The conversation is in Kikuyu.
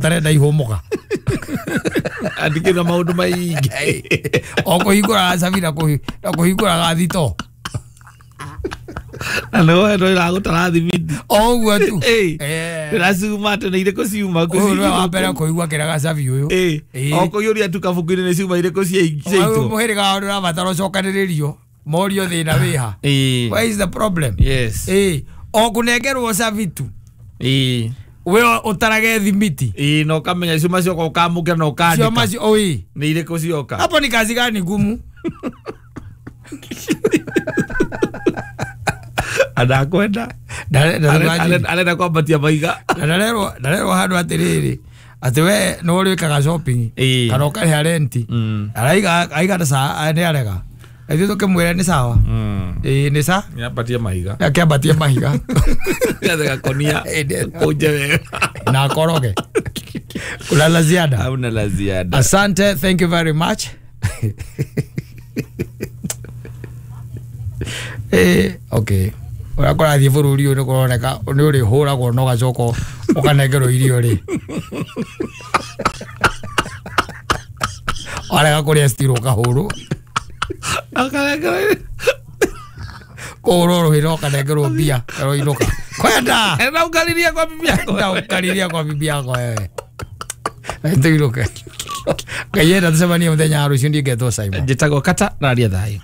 Tarenda ihũmũka. Andĩkĩra maũndũ maingĩ. O kũhingũraga cabi na kũhingũraga thito. Na nĩwe no ĩragũtara thimiti. O ũguo tu. Ndĩraciuma atĩ nĩ irĩkũ ciuma. Ũyũ nĩwe wa mbere kũigua kĩraga cabi ũyũ. O kũiyũria tu kabuku-inĩ nĩ ciuma irĩkũ ciaitwo. Mũhĩrĩga wao ndũrabatara ũcokanĩrĩrio. Morio thĩna wĩha. Where is the problem? Yes. O kũnengerwo cabi tu. We ũtarage thimiti. Na ũkamenya ciuma cioka ũkamũkĩra na ũkandĩka. Cioma cio oi. Nĩ irĩkũ cioka. Hapo ni kazi gani ngumu? Adakwenda. Arenda kwambatia maiga. Ndarerwo handũ atĩrĩrĩ atĩ we nĩ ũrĩkaga shopping kana ũkarĩha renti. Araiga aiga ta saa nĩ arega. Ithuĩ tũkĩmwĩra nĩ sawa. Nĩ sa? Nĩambatie mahiga. Akĩambatie mahiga. Gakonia. Kũnje wega. Na akoroge. Kuna la ziada. Hauna la ziada. Asante, thank you very much. Okay. Ũrĩa kũrathiĩ bũrũri ũyũ nĩ kũroneka nĩ ũrĩhũragwo na ũgacoka ũkanengerwo irio rĩ. Warega kũrĩa still ũkahũrwo. Kũhũrwo rũhĩ na ũkanengerwo mbia ũroinũka. Kwenda! Enda ũkariria kwa bibi yako. Enda ũkariria kwa bibi yako wewe. Tũinũke. Ngai enda tũcemanie mũthenya wa rũciũ, ndingetwo Simon. Njĩtagwo Kata na aria thayũ.